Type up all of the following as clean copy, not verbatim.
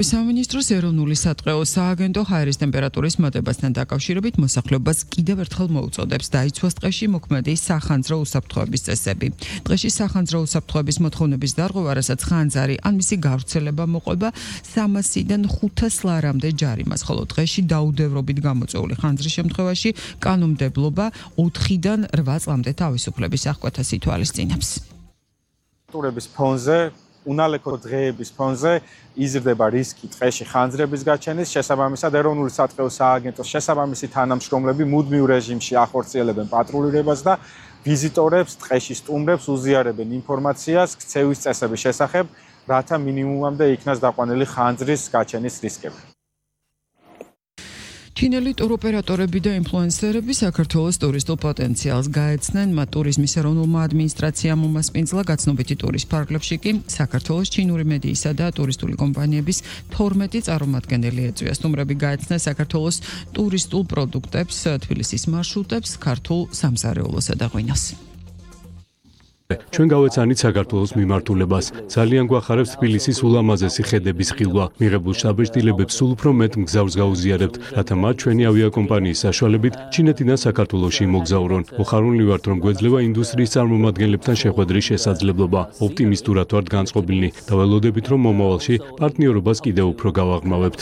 სამინისტროს ეროვნული სატყეო სააგენტო ჰაერის ტემპერატურის მატებასთან დაკავშირებით მოსახლეობას კიდევ ერთხელ მოუწოდებს დაიცვას ტყეში მოქმედი სახანძრო უსაფრთხოების წესები. ტყეში სახანძრო უსაფრთხოების მოთხოვნების დარღვევა, რასაც ხანძარი ან მისი გავრცელება მოყვება 300-დან 500 ლარამდე ჯარიმას, ხოლო ტყეში დაუდევრობით გამოწვეული ხანძრის შემთხვევაში კანონმდებლობა 4-დან 8 წლამდე თავისუფლების აღკვეთას ითვალისწინებს. უნალექო დღეების ფონზე იზრდება რისკი ტყეში ხანძრების გაჩენის, შესაბამისად ეროვნული სატყეო სააგენტოს შესაბამისი თანამშრომლები მუდმივ რეჟიმში ახორციელებენ პატრულირებას და ვიზიტორებს ტყეში სტუმრებს უზიარებენ ინფორმაციას ქცევის წესების შესახებ, რათა მინიმუმამდე იქნას დაყვანილი ხანძრის გაჩენის რისკები. ჩინელი ტუროპერატორები და ინფლუენსერები საქართველოს ტურისტულ პოტენციალს გაეცნენ, მათ ტურიზმის ეროვნულმა ადმინისტრაციამ უმასპინძლა გაცნობიტი ტურის ფარგლებში კი საქართველოს ჩინური მედიისა და ტურისტული კომპანიების 12 წარმომადგენელი ეწვია. სტუმრები გაეცნენ საქართველოს ტურისტულ პროდუქტებს, თბილისის მარშრუტებს, ქართულ სამზარეულოსა და ღვინოს. ჩვენ გავეცანით საქართველოს მიმართულებას. ძალიან გვახარებს თბილისის ულამაზესი ხედების ხილვა. მიღებულ შთაბეჭდილებებს სულ უფრო მეტ მგზავრს გაუზიარებთ, რათა მათ ჩვენი ავიაკომპანიის საშუალებით ჩინეთიდან საქართველოში იმოგზავრონ. მოხარული ვართ, რომ გვეძლევა ინდუსტრიის წარმომადგენლებთან შეხვედრის შესაძლებლობა. ოპტიმისტურად ვართ განწყობილნი და ველოდებით, რომ მომავალში პარტნიორობას კიდევ უფრო გავაღრმავებთ.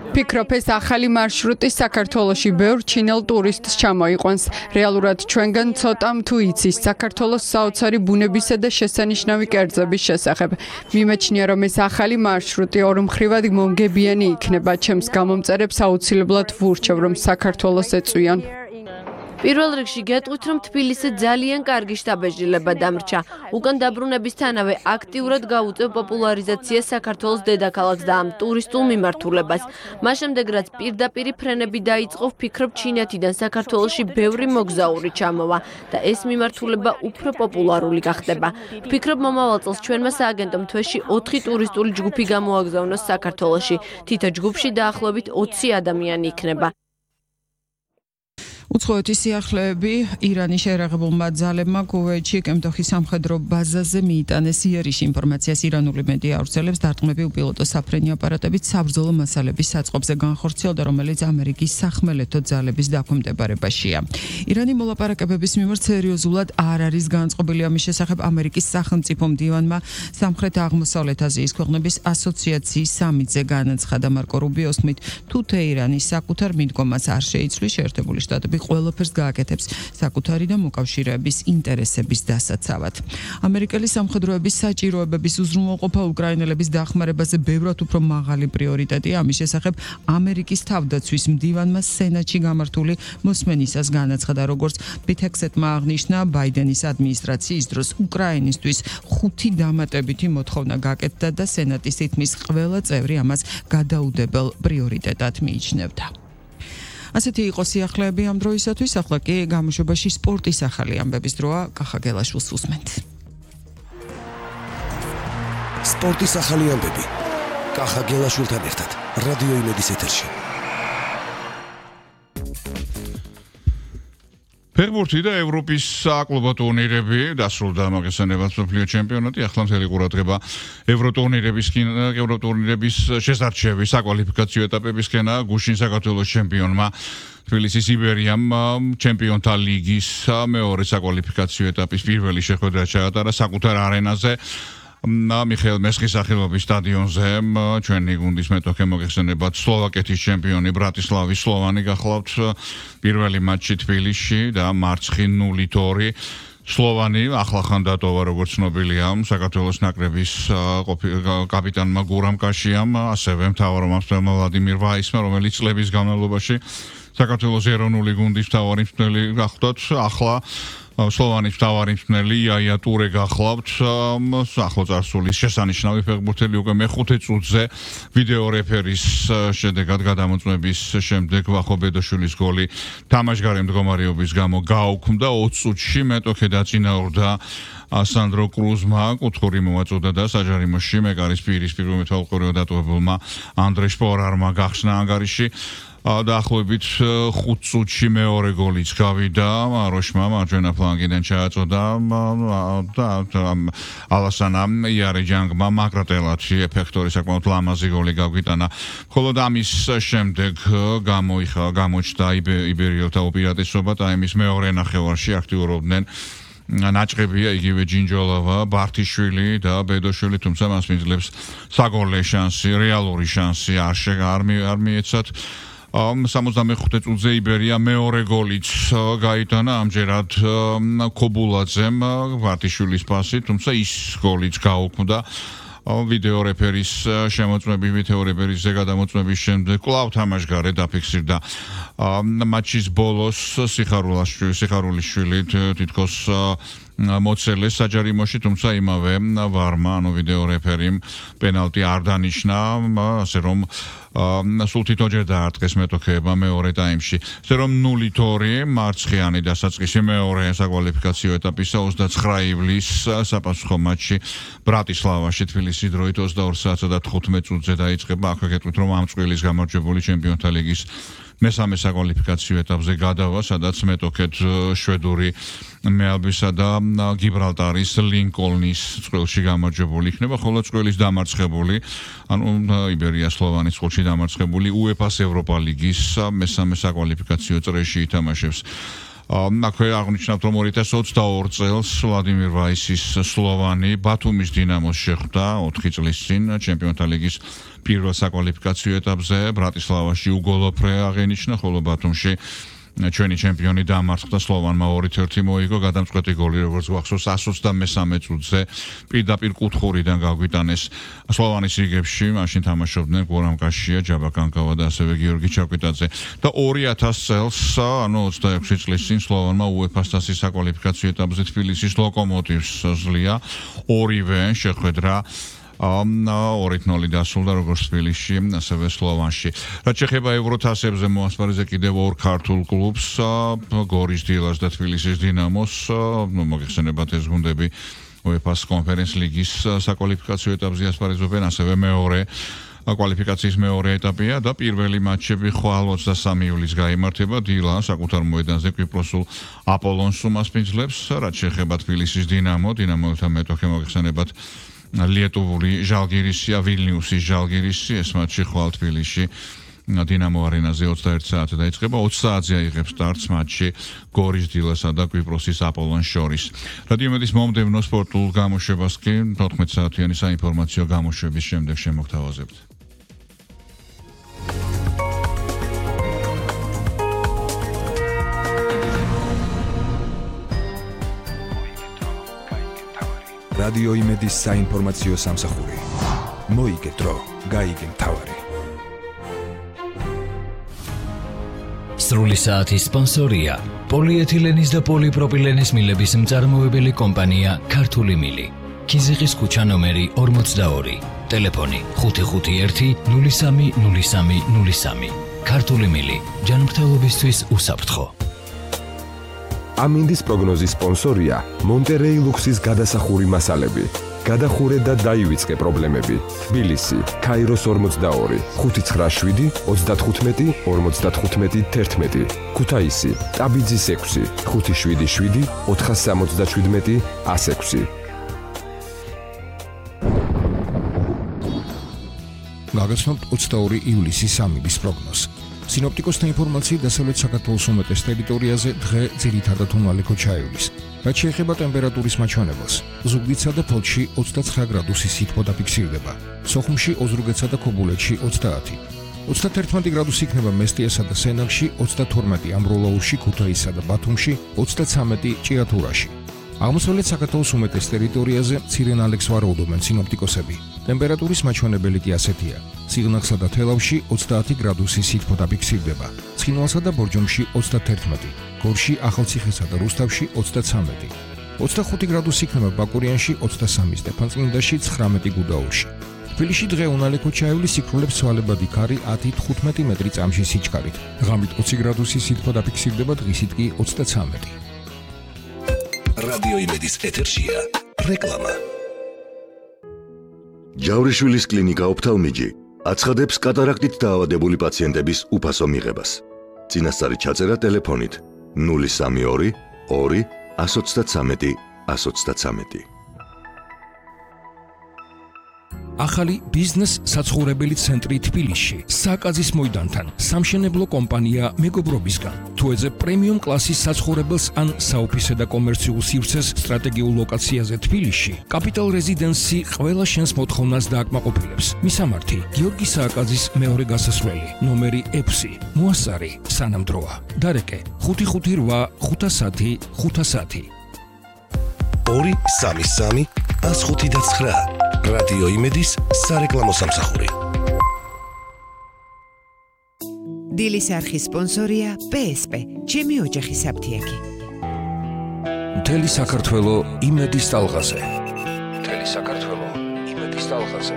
ფიქრობ, ეს ახალი მარშრუტი საქართველოში ბევრ ჩინელ ტურისტს ჩამოიყვანს. რეალურად ჩვენგან ცოტამ თუ იცის საქართველოს საოცარი ბუნებისა და შესანიშნავი კერძების შესახებ. მიმეჩნია, რომ ეს ახალი მარშრუტი ორმხრივად მომგებიანი იქნება. ჩემს გამომწერებს აუცილებლად ვურჩევ, რომ საქართველოს ეწვიან. პირველ რიგში გეტყვით, რომ თბილისზე ძალიან კარგი შთაბეჭდილება დამრჩა. უკან დაბრუნებისთანავე აქტიურად გაუწევ პოპულარიზაციას საქართველოს დედაქალაქს და ამ ტურისტულ მიმართულებას. მას შემდეგ, რაც პირდაპირი ფრენები დაიწყო, ვფიქრობ, ჩინეთიდან საქართველოში ბევრი მოგზაური ჩამოვა და ეს მიმართულება უფრო პოპულარული გახდება. ვფიქრობ, მომავალ წელს ჩვენმა სააგენტომ თვეში 4 ტურისტული ჯგუფი გამოაგზავნოს საქართველოში. თითო ჯგუფში დაახლოებით 20 ადამიანი იქნება. უცხოეთის სიახლეები ირანის შეერაღებულმა ძალებმა კუვეითში კემდოხის სამხედრო ბაზაზე მიიტანეს იერიში. ინფორმაციას ირანული მედია ავრცელებს, დარტყმები უპილოტო საფრენი აპარატებით საბრძოლო მასალების საწყობზე განხორციელდა, რომელიც ამერიკის სახმელეთო ძალების დაქვემდებარებაშია. ირანი მოლაპარაკებების მიმართ სერიოზულად არ არის განწყობილი. ამის შესახებ ამერიკის სახელმწიფო მდივანმა სამხრეთ-აღმოსავლეთ აზიის ქვეყნების ასოციაციის სამიტზე განაცხადა. მარკო რუბიოს თქმით, თუ თეირანი საკუთარ მიდგომას არ შეიცვლის, შეერთებული შტატები ყველაფერს გააკეთებს საკუთარი და მოკავშირეების ინტერესების დასაცავად. ამერიკელი სამხედროების საჭიროებების უზრუნველყოფა უკრაინელების დახმარებაზე ბევრად უფრო მაღალი პრიორიტეტია. ამის შესახებ ამერიკის თავდაცვის მდივანმა სენატში გამართული მოსმენისას განაცხადა, როგორც ბითექსეტმა აღნიშნა, ბაიდენის ადმინისტრაციის დროს უკრაინისთვის 5 დამატებითი მოთხოვნა გაკეთდა და სენატის თითქმის ყველა წევრი ამას გადაუდებელ პრიორიტეტად მიიჩნევდა. ასეთი იყო სიახლეები ამ დროისათვის, ახლა კი გამოშვებაში სპორტის ახალი ამბების დროა. კახა გელაშვილს უსმენთ. სპორტის ახალი ამბები. კახა გელაშვილთან ერთად რადიო იმედის ეთერში. ფეხბურთი და ევროპის საკლუბო ტურნირები დასრულდა მაგასანებად მსოფლიო ჩემპიონატი. ახლა მთელი ყურადღება ევროტურნირების შესარჩევი საკვალიფიკაციო ეტაპებისკენა. გუშინ საქართველოს ჩემპიონმა თბილისის იბერიამ ჩემპიონთა ლიგის მეორე საკვალიფიკაციო ეტაპის პირველი შეხვედრა ჩაატარა საკუთარ არენაზე. მიხეილ მესხის სახელობის სტადიონზე. ჩვენი გუნდის მეტოქე მოგეხსენებათ სლოვაკეთის ჩემპიონი ბრატისლავის სლოვანი გახლავთ პირველი მატჩი თბილისში და მარცხი 0-2. სლოვანი ახლახან დატოვა, როგორც ცნობილია, საქართველოს ნაკრების კაპიტანმა გურამ კაშიამ, ასევე მთავარმომავალი ვლადიმირ ვაისმა, რომელიც წლების განმავლობაში საქართველოს ეროვნული გუნდის მთავარი მწვრთნელი გახლავთ. ახლა სლოვანის მთავარი მწვრთნელი იაია ტურე გახლავთ. ახლოცარსულის შესანიშნავი ფეხბურთელი უკვე მეხუთე წუთზე ვიდეო რეფერის შედეგად გადამოწმების შემდეგ ვახო ბედოშვილის გოლი თამაშგარე მდგომარეობის გამო გააუქმდა. 20 წუთში მეტოქე დაწინაურდა ასანდრო კრუზმა, კუთხური მოაწოდა და საჯარიმოში მეკარის პირისპირ მეთვალყურეო დატოვებულმა ანდრე შპორარმა გახსნა ანგარიში. დაახლოებით 5 წუთში მეორე გოლიც გავიდა მაროშმა მარჯვენა ფლანგიდან ჩააწოდა და ალასანა იარეჯანგმა მაგრატელათი ეფექტური საკმაოდ ლამაზი გოლი გაგვიტანა. ხოლო ამის შემდეგ გამოჩნდა იბერიელთა უპირატესობა და იმის მეორე ნახევარში აქტიურობდნენ ნაჭყებია იგივე ჯინჯოლოვა, ბართიშვილი და ბედოშვილი, თუმცა მას მიძლებს საგოლე შანსი, რეალური შანსი არ მიეცათ. 65 წუთზე იბერია მეორე გოლიც გაიტანა ამჯერად ქობულაძემ ბართიშვილის პასი, თუმცა ის გოლიც გაუქმდა. ვიდეო რეფერის გადამოწმების შემდეგ კვლავ თამაშგარე დაფიქსირდა მატჩის ბოლოს სიხარულიშვილი თითქოს მოწელეს საჯარიმოში, თუმცა იმავე ვარმა, ვიდეო რეფერიმ პენალტი არ დანიშნა, ასე რომ სულ თითოჯერ დაარტყეს მეტოქეება მეორე ტაიმში. ასე რომ 0-2 მარცხიანი დასაწყისი მეორე საკვალიფიკაციო ეტაპისა 29 ივლისს საპასუხო მატჩი ბრატისლავაში თბილისის დროით 22 საათსა და 15 წუთზე დაიწყება. აქვე გეტყვით, რომ ამ წვილის გამარჯვებული ჩემპიონთა ლიგის მესამე საკვალიფიკაციო ეტაპზე გადავა, სადაც მეტოქედ შვედური მეალბისა და გიბრალტარის ლინკოლნის წყვილში გამარჯვებული იქნება, ხოლო წყვილის დამარცხებული, იბერია სლოვანის წყვილში დამარცხებული UEFA-ს ევროპა ლიგის მესამე საკვალიფიკაციო წრეში ითამაშებს. აქვე აღნიშნავთ, რომ 2022 წელს ვლადიმირ ვაისის სლოვანი ბათუმის დინამოს შეხვდა 4 წლის წინ ჩემპიონთა ლიგის პირველ საკვალიფიკაციო ეტაპზე. ბრატისლავაში უგოლო ფრე აღენიშნა, ხოლო ბათუმში ჩვენი ჩემპიონი დამარცხდა სლოვანმა 2-1 მოიგო. გადამწყვეტი გოლი, როგორც გვახსოვს, 123 წუთზე პირდაპირ კუთხურიდან გაგვიტანეს სლოვანის რიგებში. მაშინ თამაშობდნენ გორამ კაშია, ჯაბა კანკავა და ასევე გიორგი ჩაკვიტაძე. და 2000 წელს, 26 წლის წინ სლოვანმა UEFA-ს თასის საკვალიფიკაციო ეტაპზე თბილისის ლოკომოტივს ზლია. ორივე შეხვედრა 2-0 დასრულდა როგორც თბილისში, ასევე სლოვანში. რაც შეეხება ევროთასებზე მოასპარეზე კიდევ ორ ქართულ კლუბს, გორის დილას და თბილისის დინამოს, მოგეხსენებათ ეს გუნდები UEFA-ს კონფერენს ლიგის საკვალიფიკაციო ეტაპზე ასპარეზობენ, ასევე მეორე კვალიფიკაციის მეორე ეტაპია და პირველი მატჩები ხვალ 23 ივლისს გაიმართება. დილა საკუთარ მოედანზე კვიპროსულ აპოლონს უმასპინძლებს. რაც შეეხება თბილისის დინამოთა მეტოქე მოგეხსენებათ ლიეტუვური ჟალგირისია, ვილნიუსის ჟალგირისი, ეს მატჩი ხვალ თბილისში დინამო არენაზე 21 საათზე დაიწყება. 20 საათზე აიღებს სტარტს მატჩი გორის დილასა და კვიპროსის აპოლონს შორის. რადიომედის მომდევნო სპორტულ გამოშვებას კი 14 საათიანი საინფორმაციო გამოშვების შემდეგ შემოგთავაზებთ. რადიო იმედის საინფორმაციო სამსახური. მოიგე დრო, გაიგე მთავარი. სრული საათის სპონსორია პოლიეთილენის და პოლიპროპილენის მილების მწარმოებელი კომპანია ქართული მილი. ქიზიყის ქუჩა ნომერი 42. ტელეფონი 551 03 03 03. ქართული მილი. ჯანმრთელობისთვის უსაფრთხო. ამინდის პროგნოზის სპონსორია მონტერეი ლუქსის გადასახური მასალები. გადახურე და დაივიწყე პრობლემები. თბილისი, ქაიროს 42, 597 35 55 11. ქუთაისი, ტაბიძის 6, 577 477 106. გაგაცნობთ 22 ივლისის ამინდის პროგნოზს. სინოპტიკოსთა ინფორმაციით დასავლეთ საქართველოს უმეტეს ტერიტორიაზე დღე ძირითადად უნალექო ჩაივლის. რაც შეეხება ტემპერატურის მაჩვენებელს, ზუგდიდსა და ფოთში 29 გრადუსი სითბო დაფიქსირდება, სოხუმში, ოზურგეთსა და ქობულეთში 30, 31 გრადუსი იქნება მესტიასა და სენაკში, 32 ამბროლაურში, ქუთაისსა და ბათუმში, 33 ჭიათურაში. აღმოსავლეთ საქართველოს უმეტეს ტერიტორიაზე მცირე ნალექს ვარაუდობენ სინოპტიკოსები. ტემპერატურის მაჩვენებელი კი ასეთია: სიღნაღსა და თელავში 30 გრადუსი სითბო დაფიქსირდება, ცხინვალსა და ბორჯომში 31, გორში, ახალციხესა და რუსთავში 33, 25 გრადუსი იქნება ბაკურიანში, 23 სტეფანწმინდაში, 19 გუდაურში. თბილისში დღე უნალექო ჩაივლის, სიკვდილებს ცვალებადი ქარი 10-15 მეტრი წამში სიჩქარით. ღამით 20 გრადუსი სითბო დაფიქსირდება, დღისით კი 33. რადიო იმედის ეთერშია რეკლამა. ჯავრიშვილის კლინიკა ოფთალმიჯი აცხადებს კატარაქტით დაავადებული პაციენტების უფასო მიღებას. წინასწარი ჩაწერა ტელეფონით 032 2 123 123. ახალი ბიზნეს საცხოვრებელი ცენტრი თბილისში საკაზის მოედანთან სამშენებლო კომპანია მეგობრობისგან თუ ეძებ პრემიუმ კლასის საცხოვრებელს ან საოფისე და კომერციულ სივრცეს სტრატეგიულ ლოკაციაზე თბილისში კაპიტალ რეზიდენსი ყველა შენს მოთხოვნას დააკმაყოფილებს მისამართი გიორგი სააკაძის მეორე გასასვლელი ნომერი 6 მოასწარი სანამდროა დარეკე 558 510 510 233 159 რადიო იმედის სარეკლამო სამსახური. დილის არხის სპონსორია PSP, ჩემი ოჯახის საფთიაქი. მთელი საქართველო იმედის ტალღაზე. მთელი საქართველო იმედის ტალღაზე.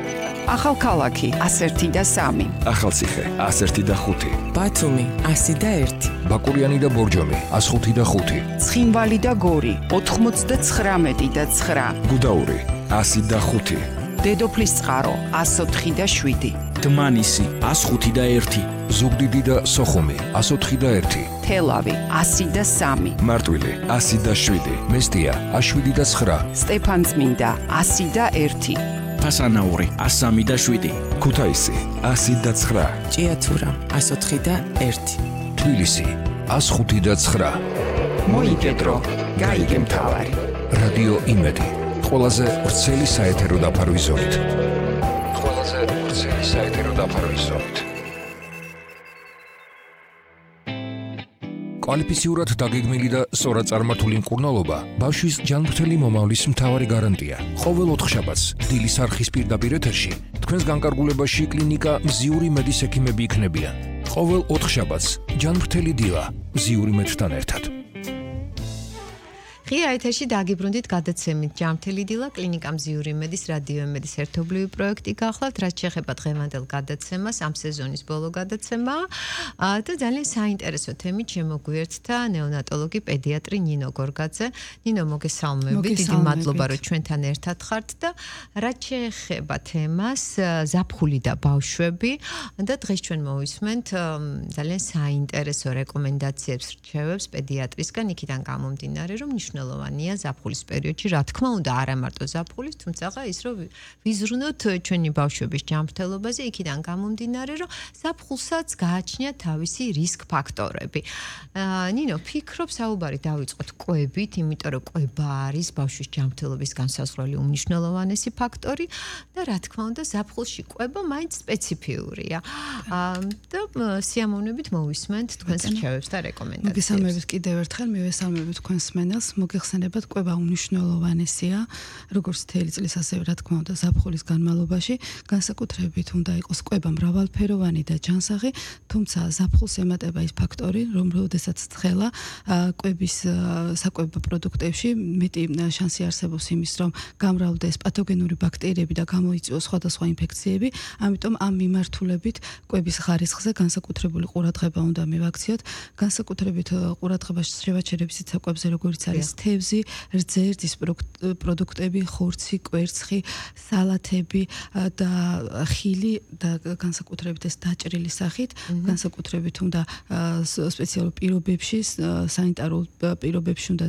ახალქალაქი 101 და 3. ახალციხე 101 და 5. ბათუმი 100 და 1. ბაკურიანი და ბორჯომი 105 და 5. ცხინვალი და გორი 99 და 9. გუდაური 100 და 5. დედოფლის წყარო 104 და 7. დმანისი 105 და 1. ზუგდიდი და სოხუმი 104 და 1. თელავი 100 და 3. მარტვილი 100 და 7. მესტია 107 და 9. სტეფანწმინდა 100 და 1. ფასანაური 103 და 7. ქუთაისი 100 და 9. ჭიათურა 104 და 1. თბილისი 105 და 9. მოიგედრო გაიგე მთავარი. რადიო იმედი ყველაზე ვრცელი საეთერო დაფარვის ზოლით. ყველაზე ვრცელი საეთერო დაფარვის ზოლით. კვალიფიციურად დაგეგმილი და სწორად წარმართული მკურნალობა ბავშვის ჯანმრთელი მომავლის მთავარი გარანტია. ყოველ ოთხშაბათს დილის არხის პირდაპირ ეთერში თქვენს განკარგულებაში კლინიკა მზიური მედის ექიმები იქნებიან. ყოველ ოთხშაბათს ჯანმრთელი დილა მზიური მედთან ერთად. ღია ეთერში დაგიბრუნდით გადაცემით ჯანმრთელი დილა კლინიკა მზიური მედის რადიო იმედის ერთობლივი პროექტი გახლავთ რაც შეეხება დღევანდელ გადაცემას ამ სეზონის ბოლო გადაცემა და ძალიან საინტერესო თემით შემოგვიერთდა ნეონატოლოგი პედიატრი ნინო გორგაძე. ნინო მოგესალმებით, დიდი მადლობა რომ ჩვენთან ერთად ხართ და რაც შეეხება თემას ზაფხული და ბავშვები და დღეს ჩვენ მოვისმენთ ძალიან საინტერესო რეკომენდაციებს რჩევებს პედიატრისგან იქიდან გამომდინარე რომ მნიშვნელოვანია ზაფხულის პერიოდში, რა თქმა უნდა, არა მარტო ზაფხულის, თუმცა ის რომ ვიზრუნოთ ჩვენი ბავშვების ჯანმრთელობაზე, იქიდან გამომდინარე, რომ ზაფხულსაც გააჩნია თავისი რისკ ფაქტორები. ნინო, ფიქრობ საუბარი დავიწყოთ კვებით, იმიტომ რომ კვება არის ბავშვის ჯანმრთელობის განსაზღვრელი უმნიშვნელოვანესი ფაქტორი და რა თქმა უნდა, ზაფხულში კვება მაინც სპეციფიურია. და სიამოვნებით მოვისმენთ თქვენს რჩევებს და რეკომენდაციებს. მოგესალმებით კიდევ ერთხელ, მივესალმებით თქვენს მენელს. მოგეხსენებათ, კვება უმნიშვნელოვანესია, როგორც მთელი წლის, ასევე რა თქმა უნდა, ზაფხულის განმავლობაში, განსაკუთრებით უნდა იყოს კვება მრავალფეროვანი და ჯანსაღი, თუმცა ზაფხულს ემატება ის ფაქტორი, რომ როდესაც ცხელა კვების საკვებო პროდუქტებში მეტი შანსი არსებობს იმის, რომ გამრავლდეს პათოგენური ბაქტერიები და გამოიწვიოს სხვადასხვა ინფექციები, ამიტომ ამ მიმართულებით კვების ხარისხზე განსაკუთრებული ყურადღება უნდა მივაქციოთ, განსაკუთრებით ყურადღებას შევაჩერებს საკვებზე, როგორც არის თევზი, რძერძის პროდუქტები, ხორცი, კვერცხი, სალათები და ხილი და განსაკუთრებით ეს დაჭრილი სახით, განსაკუთრებით უნდა სპეციალურ პირობებში, სანიტარულ პირობებში უნდა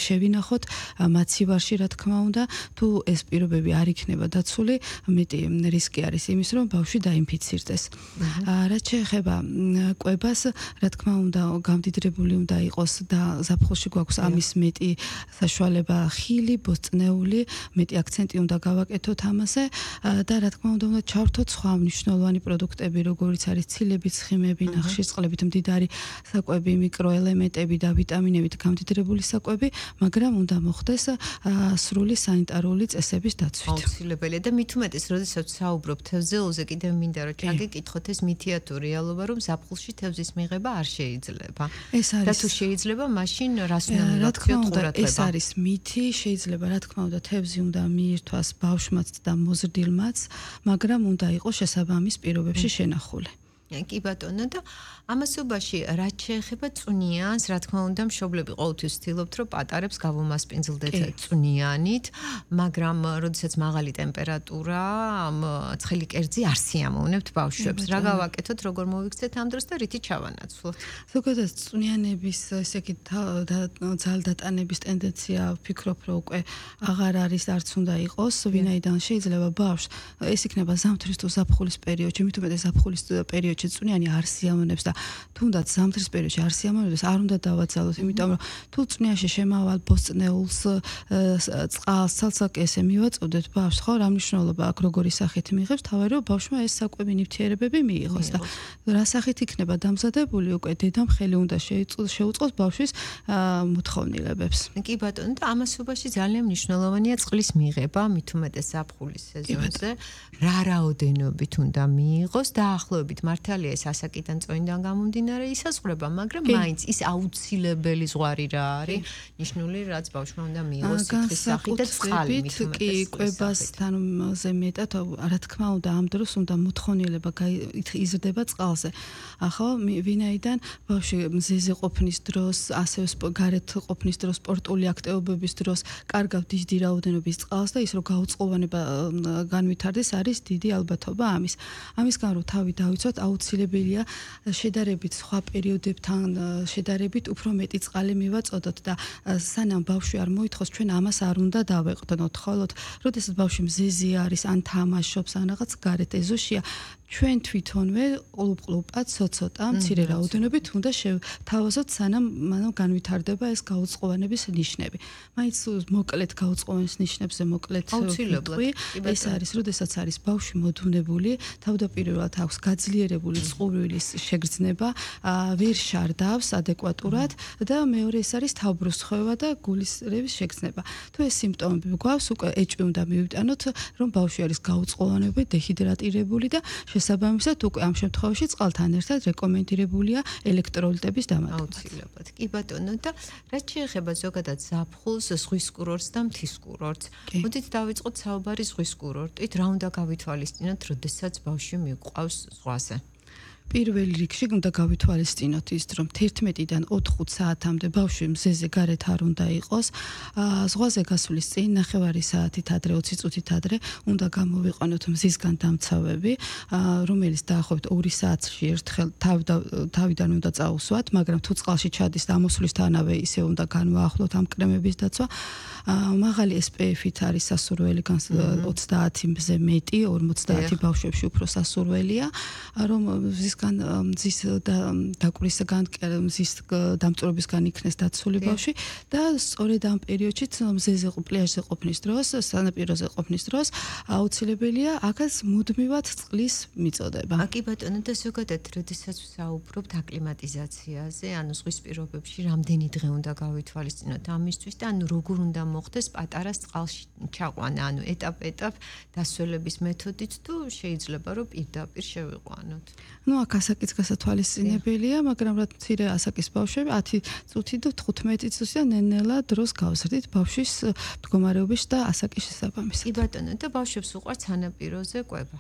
შევინახოთ, მაცივარში რა თქმა უნდა, თუ ეს პირობები არ იქნება დაცული, მეტი რისკი არის იმის, რომ ბავშვი დაინფიცირდეს. რაც შეეხება კვებას, რა თქმა უნდა, გამდიდრებული უნდა იყოს და ზაფხულში გვაქვს ამის მეტი საშუალება ხილი, ბოსტნეული, მეტი აქცენტი უნდა გავაკეთოთ ამაზე და რა თქმა უნდა ჩავრთოთ სხვა მნიშვნელოვანი პროდუქტები, როგორიც არის ცილები, ცხიმები, ნახშირწყლებით მდიდარი საკვები, მიკროელემენტები და ვიტამინებით გამდიდრებული საკვები, მაგრამ უნდა მოხდეს სრული სანიტარული წესების დაცვით. აუცილებელია და მით უმეტეს, როდესაც საუბრობ თევზელზე, კიდევ მინდა რომ ჩაგეკითხოთ ეს მითია თუ რეალობა, რომ ზაფხულში თევზის მიღება არ შეიძლება. ეს არის და თუ შეიძლება, მაშინ რას უნდა რა თქმა უნდა, ეს არის მითი, შეიძლება რა თქმა უნდა თევზი უნდა მიირთვას ბავშვმაც და მოზრდილმაც, მაგრამ უნდა იყოს შესაბამის პირობებში შენახული. კი ბატონო და ამასობაში რაც შეეხება წვნიანს, რა თქმა უნდა, მშობლები ყოველთვის ცდილობთ, რომ პატარებს გავუმასპინძლდეთ წვნიანით, მაგრამ როდესაც მაღალი ტემპერატურა, ცხელი კერძი არ სიამოვნებთ ბავშვებს. რა გავაკეთოთ, როგორ მოვიქცეთ ამ დროს და რითი ჩავანაცვლოთ? ზოგადად წვნიანების ესე იგი ძალდატანების ტენდენცია ვფიქრობ, რომ უკვე აღარ არის, არც უნდა იყოს, ვინაიდან შეიძლება ბავშვს ეს იქნება ზამთრის თუ ზაფხულის პერიოდში, მით უმეტეს ზაფხულის პერიოდში წვნიანი არ სიამოვნებს და თუნდაც ზამთრის პერიოდში არ სიამოვნებს, არ უნდა დავაძალოთ, იმიტომ რომ თუ წვნიანში შემავალ ბოსტნეულს, წყალს, ცალსაკესე მივაწოდეთ ბავშვს, ხო, რა მნიშვნელობა აქვს, როგორი სახით მიიღებს, თავი რომ ბავშვმა ეს საკვები ნივთიერებები მიიღოს და რა სახით იქნება დამზადებული, უკვე დედამ ხელი უნდა შეუწყოს ბავშვის მოთხოვნილებებს. კი ბატონო, და ამასობაში ძალიან მნიშვნელოვანია წყლის მიღება, მით უმეტეს ზაფხულის სეზონზე, რა რაოდენობით უნდა მიიღოს, დაახლოებით მართალია ეს ასაკიდან წონიდან გამომდინარე ისაზღვრება, მაგრამ მაინც ის აუცილებელი ზღვარი რა არის, ნიშნული რაც ბავშვმა უნდა მიიღოს სითხის სახით და წყალი მით უმეტეს. კი, კვებასთან ზემეტად, რა თქმა უნდა, ამ დროს უნდა მოთხოვნილება იზრდება წყალზე. ახლა ვინაიდან ბავშვი მზეზე ყოფნის დროს, ასევე გარეთ ყოფნის დროს, სპორტული აქტივობების დროს კარგავ დიდი რაოდენობის წყალს და ის რომ გაუწყლოვანება განვითარდეს არის დიდი ალბათობა ამის. ამისგან რომ თავი დავიცვათ, აუცილებელია შედარებით სხვა პერიოდებთან შედარებით უფრო მეტი წყალი მივაწოდოთ და სანამ ბავშვი არ მოითხოვს, ჩვენ ამას არ უნდა დავეყრდნოთ. ხოლოდ, როდესაც ბავშვი მზეზე არის, ან თამაშობს, ან რაღაც გარეთ ეზოშია, ჩვენ თვითონვე ყლუპ-ყლუპად ცოტა მცირე რაოდენობით უნდა შევთავაზოთ, სანამ მანამ განვითარდება ეს გაუწყლოვანების ნიშნები. მაინც მოკლედ გაუწყლოვანის ნიშნებზე მოკლედ ვიტყვი, ეს არის, როდესაც არის ბავშვი მოდუნებული, თავდაპირველად აქვს გაძლიერებული წყურვილის შეგრძნება, ვერ შარდავს ადეკვატურად და მეორე ეს არის თავბრუსხვევა და გულის რევის შეგრძნება. თუ ეს სიმპტომები გვაქვს, უკვე ეჭვი უნდა მივიტანოთ, რომ ბავშვი არის გაუწყლოვანებული, დეჰიდრატირებული და შესაბამისად უკვე ამ შემთხვევაში წყალთან ერთად რეკომენდირებულია ელექტროლიტების დამატება. აუცილებლად. კი ბატონო და რაც შეეხება ზოგადად ზაფხულს, ზღვის კურორტს და მთის კურორტს. მოდით დავიწყოთ საუბარი ზღვის კურორტით, რა უნდა გავითვალისწინოთ, როდესაც ბავშვი მიყვავს ზღვაზე. პირველ რიგში უნდა გავითვალისწინოთ ის, რომ 11-დან 4 საათამდე ბავშვი მზეზე გარეთ არ უნდა იყოს. ზღვაზე გასვლის წინ 9 საათით ადრე, 20 წუთით ადრე უნდა გამოვიყვანოთ მზისგან დამცავები, რომელიც დაახლოებით 2 საათში ერთხელ თავიდან უნდა წაუსვათ, მაგრამ თუ წყალში ჩადის და ამოსვლისთანავე ისე უნდა განვაახლოთ ამ კრემების დაცვა. მაღალი SPF-ით არის სასურველი 30 მზე მეტი, 50 ბავშვებში უფრო სასურველია, რომ მზის დაკვირისგან, მზის დამწვრობისგან იქნეს დაცული ბავშვი და სწორედ ამ პერიოდში მზეზე პლაჟზე ყოფნის დროს, სანაპიროზე ყოფნის დროს აუცილებელია აქაც მუდმივად წყლის მიწოდება. კი ბატონო, და ზოგადად, როდესაც ვსაუბრობთ აკლიმატიზაციაზე, ანუ ზღვის პირობებში რამდენი დღე უნდა გავითვალისწინოთ ამისთვის და ანუ როგორ უნდა მოხდეს პატარას წყალში ჩაყვანა, ანუ ეტაპ-ეტაპ დასველების მეთოდით თუ შეიძლება რომ პირდაპირ შევიყვანოთ. ნუ აქ ასაკიც გასათვალისწინებელია, მაგრამ რა მცირე ასაკის ბავშვები 10 წუთი და 15 წუთი და ნელ-ნელა დროს გავზრდით ბავშვის მდგომარეობის და ასაკის შესაბამისად. კი ბატონო, და ბავშვებს უყვართ სანაპიროზე კვება.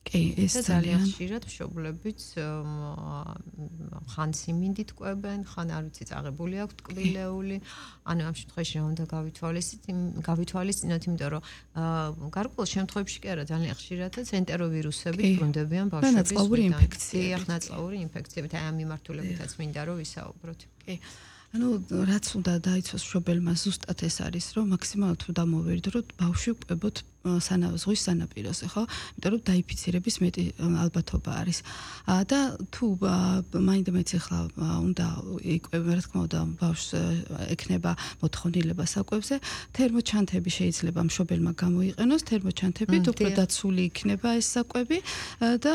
კი, ეს ძალიან ხშირად მშობლებიც ხან სიმინდით კვებენ, ხან არ ვიცი წაღებული აქვთ ტკბილეული, ანუ ამ შემთხვევაში რა უნდა გავითვალისწინოთ, იმიტომ რომ გარკვეულ შემთხვევებში კი არა, ძალიან ხშირადაც ენტეროვირუსები ბრუნდებიან ბავშვების ნაწლავური ინფექციები. ნაწლავური ინფექციებით, აი ამ მიმართულებითაც მინდა რომ ვისაუბროთ. კი. ანუ რაც უნდა დაიცვას მშობელმა ზუსტად ეს არის, რომ მაქსიმალურად უნდა მოვერდოთ ბავშვი კვებოთ ზღვის სანაპიროზე, ხო? იმიტომ რომ დაიფიცირების მეტი ალბათობა არის. და თუ მაინდამაინც ახლა უნდა იკვებება, რა თქმა უნდა, ბავშვს ექნება მოთხოვნილება საკვებზე, თერმოჩანთები შეიძლება მშობელმა გამოიყენოს, თერმოჩანთებით უფრო დაცული იქნება ეს საკვები და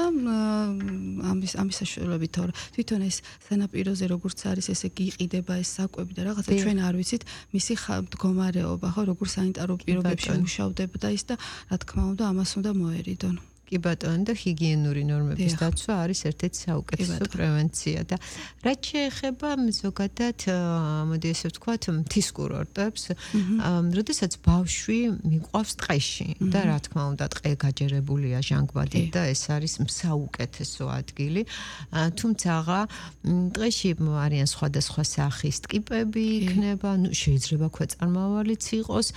ამის საშუალებით თვითონ ეს სანაპიროზე როგორც არის, ესე გიყიდება ეს საკვები და რაღაცა ჩვენ არ ვიცით მისი მდგომარეობა, ხო, როგორ სანიტარო პირობებში მუშავდება და ის და რა თქმა უნდა ამას უნდა მოერიდონ. კი ბატონო და ჰიგიენური ნორმების დაცვა არის ერთ-ერთი საუკეთესო პრევენცია და რაც შეეხება ზოგადად მოდი ესე ვთქვათ მთის კურორტებს როდესაც ბავშვი მიყვავს ტყეში და რა თქმა უნდა ტყე გაჯერებულია ჟანგბადით და ეს არის საუკეთესო ადგილი თუმცა ტყეში არიან სხვადასხვა სახის ტკიპები იქნება ნუ შეიძლება ქვეწარმავალიც იყოს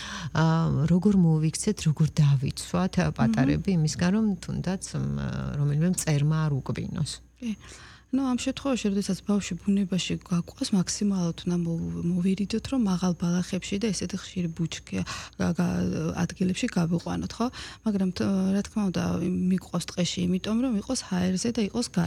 როგორ მოვიქცეთ როგორ დავიცვათ პატარები იმისგან რომ თუნდაც რომელიმე მწერმა არ უკბინოს. ნუ ამ შემთხვევაში, როდესაც ბავშვი ბუნებაში გაყვას, მაქსიმალურად უნდა მოვირიდოთ, რომ მაღალ ბალახებში და ესეთი ხშირი ბუჩქი ადგილებში გავიყვანოთ, ხო? მაგრამ რა თქმა უნდა, მიყვავს ტყეში, იმიტომ რომ იყოს ჰაერზე და იყოს